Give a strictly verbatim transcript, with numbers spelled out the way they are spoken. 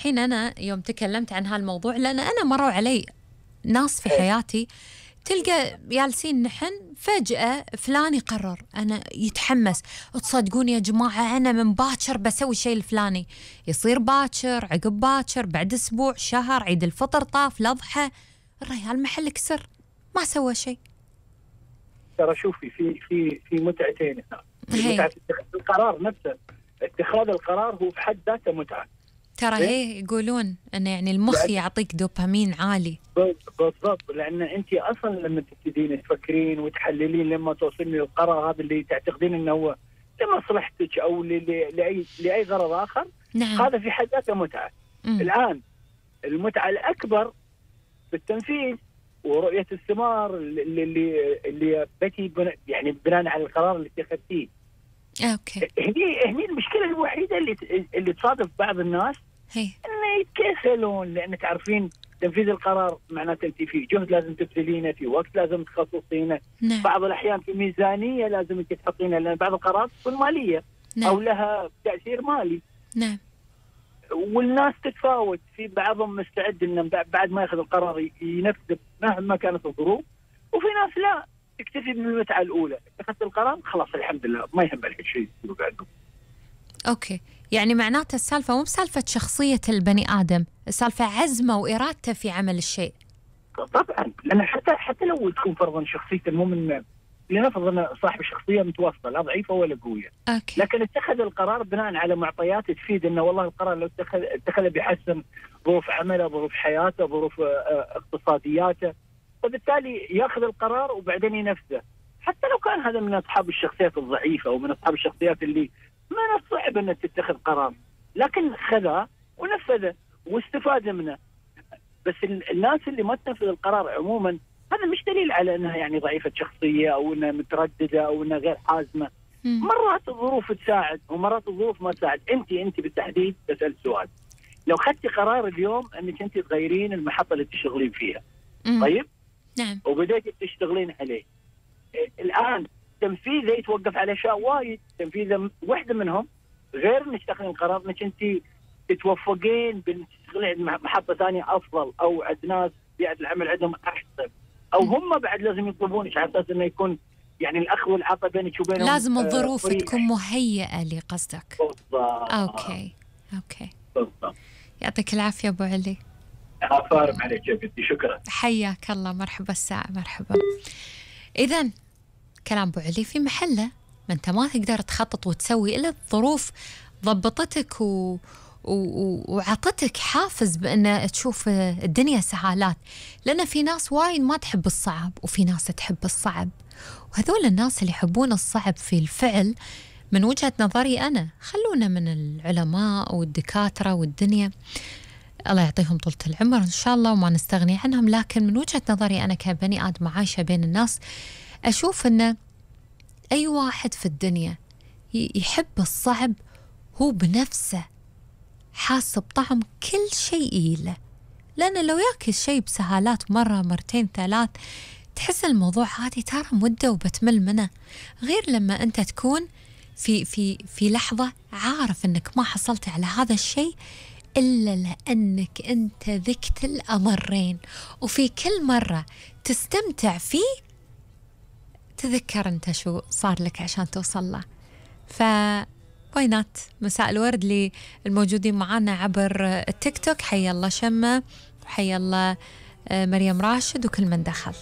الحين أنا يوم تكلمت عن هالموضوع، لأن أنا مروا علي ناس في حياتي تلقى جالسين نحن فجأة فلان يقرر أنا يتحمس، تصدقون يا جماعة أنا من باكر بسوي شيء الفلاني، يصير باكر عقب باكر بعد أسبوع شهر عيد الفطر طاف الأضحى الريال محل كسر ما سوى شيء. ترى شوفي في في في متعتين هنا، متعة اتخاذ القرار نفسه، اتخاذ القرار هو في حد ذاته متعة. ترى هي يقولون أنه يعني المخ يعطيك دوبامين عالي. بالضبط، لأن أنت أصلا لما تبتدين تفكرين وتحللين لما توصلين للقرار هذا اللي تعتقدين أنه هو لمصلحتك أو لأي لأي غرض آخر، نعم. هذا في حد ذاته متعة. مم. الآن المتعة الأكبر بالتنفيذ ورؤية الثمار اللي اللي اللي بتي بنا يعني بناء على القرار اللي اتخذتيه. اوكي. هني هني المشكلة الوحيدة اللي اللي تصادف بعض الناس هي انه يتكاسلون، لان تعرفين تنفيذ القرار معناته انت في جهد لازم تبذلينه، في وقت لازم تخصصينه. نعم. بعض الاحيان في ميزانية لازم انت تحطينها، لان بعض القرارات تكون مالية. نعم. او لها تأثير مالي. نعم. والناس تتفاوت، في بعضهم مستعد انه بعد ما ياخذ القرار ينفذ مهما كانت الظروف، وفي ناس لا تكتفي بالمتعه الاولى، اتخذت القرار خلاص الحمد لله ما يهم لك شيء بعده. اوكي، يعني معناته السالفه مو بسالفه شخصيه البني ادم، السالفه عزمه وارادته في عمل الشيء. طبعا، لان حتى حتى لو تكون فرضا شخصيته مو من لنفرض انه صاحب شخصيه متوسطه لا ضعيفه ولا قويه، أوكي. لكن اتخذ القرار بناء على معطيات تفيد انه والله القرار لو اتخذ اتخذه بيحسن ظروف عمله، ظروف حياته، ظروف اقتصادياته، فبالتالي ياخذ القرار وبعدين ينفذه، حتى لو كان هذا من اصحاب الشخصيات الضعيفه ومن اصحاب الشخصيات اللي من الصعب ان تتخذ قرار، لكن خذه ونفذه واستفاد منه. بس الناس اللي ما تنفذ القرار عموما هذا مش دليل على انها يعني ضعيفه شخصيه او انها متردده او انها غير حازمه. مم. مرات الظروف تساعد ومرات الظروف ما تساعد. انت انت بالتحديد تسال سؤال، لو خدتي قرار اليوم انك انت تغيرين المحطه اللي تشتغلين فيها، مم. طيب؟ نعم. وبديتي تشتغلين عليه، الان تنفيذه يتوقف على اشياء وايد، تنفيذه واحده منهم غير انك تاخذين قرار انك انت تتوفقين بان تشتغلين محطه ثانيه افضل، او عند ناس بيئه العمل عندهم احسن، او هم بعد لازم يطلبونك على اساس انه يكون يعني الاخذ والعطاء بينك وبينهم. لازم الظروف آه تكون مهيئه لي قصدك. بالضبط. اوكي اوكي بالضبط. يعطيك العافيه ابو علي. افارم عليك يا بنتي، شكرا. حياك الله، مرحبا الساعه، مرحبا. اذا كلام ابو علي في محله، ما انت ما تقدر تخطط وتسوي الا الظروف ضبطتك و وعطتك حافز بأن تشوف الدنيا سهالات، لأن في ناس وايد ما تحب الصعب وفي ناس تحب الصعب، وهذول الناس اللي يحبون الصعب في الفعل من وجهة نظري أنا خلونا من العلماء والدكاترة والدنيا، الله يعطيهم طولة العمر إن شاء الله وما نستغني عنهم، لكن من وجهة نظري أنا كبني آدم عايشة بين الناس أشوف أن أي واحد في الدنيا يحب الصعب هو بنفسه حاس بطعم كل شيء له، لأن لو ياكل شيء بسهالات مرة مرتين ثلاث تحس الموضوع عادي، ترى مدة وبتمل منه، غير لما أنت تكون في في في لحظة عارف أنك ما حصلت على هذا الشيء إلا لأنك أنت ذقت الأمرين، وفي كل مرة تستمتع فيه تذكر أنت شو صار لك عشان توصل له. ف وينات مساء الورد للموجودين معنا عبر التيك توك، حيا الله شمة وحيا الله مريم راشد وكل من دخل.